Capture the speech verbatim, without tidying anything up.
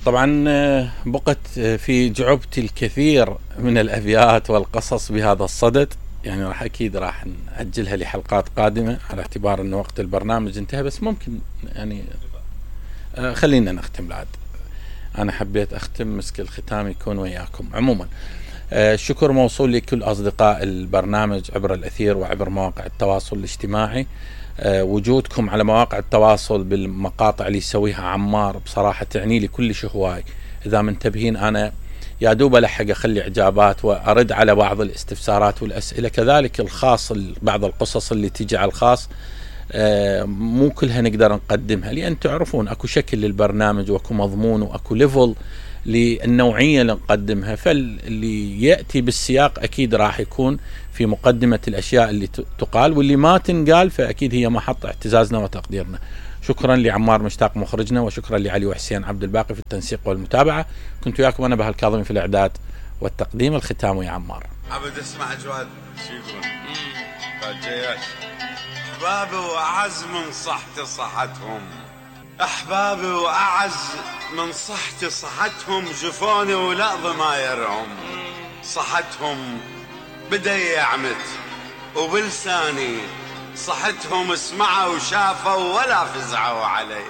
طبعا بقت في جعبتي الكثير من الأبيات والقصص بهذا الصدد، يعني راح أكيد راح نأجلها لحلقات قادمة على اعتبار أن وقت البرنامج انتهى، بس ممكن يعني خلينا نختم العاد. أنا حبيت أختم، مسك الختام يكون وياكم. عموما الشكر موصول لكل أصدقاء البرنامج عبر الأثير وعبر مواقع التواصل الاجتماعي. وجودكم على مواقع التواصل بالمقاطع اللي يسويها عمار بصراحة تعني لي كلش هواي. إذا منتبهين أنا يا دوب ألحق أخلي إجابات وأرد على بعض الاستفسارات والأسئلة، كذلك الخاص بعض القصص اللي تيجي على الخاص مو كلها نقدر نقدمها، لأن تعرفون أكو شكل للبرنامج وأكو مضمون وأكو ليفل للنوعية اللي نقدمها، فاللي يأتي بالسياق أكيد راح يكون في مقدمة الأشياء اللي تقال، واللي ما تنقال فأكيد هي محط اعتزازنا وتقديرنا. شكرا لعمار مشتاق مخرجنا، وشكرا لعلي وحسين عبد الباقي في التنسيق والمتابعة. كنت وياكم أنا بهاء الكاظمي في الإعداد والتقديم. الختام يا عمار. عبد اسمع جواد شو يقول فالجياش. أحبابي وأعز من صحتي صحتهم، أحبابي وأعز من صحتي صحتهم، جفوني ولا ضمايرهم صحتهم بدا يعمت، وبلساني صحتهم اسمعوا وشافوا ولا فزعوا علي.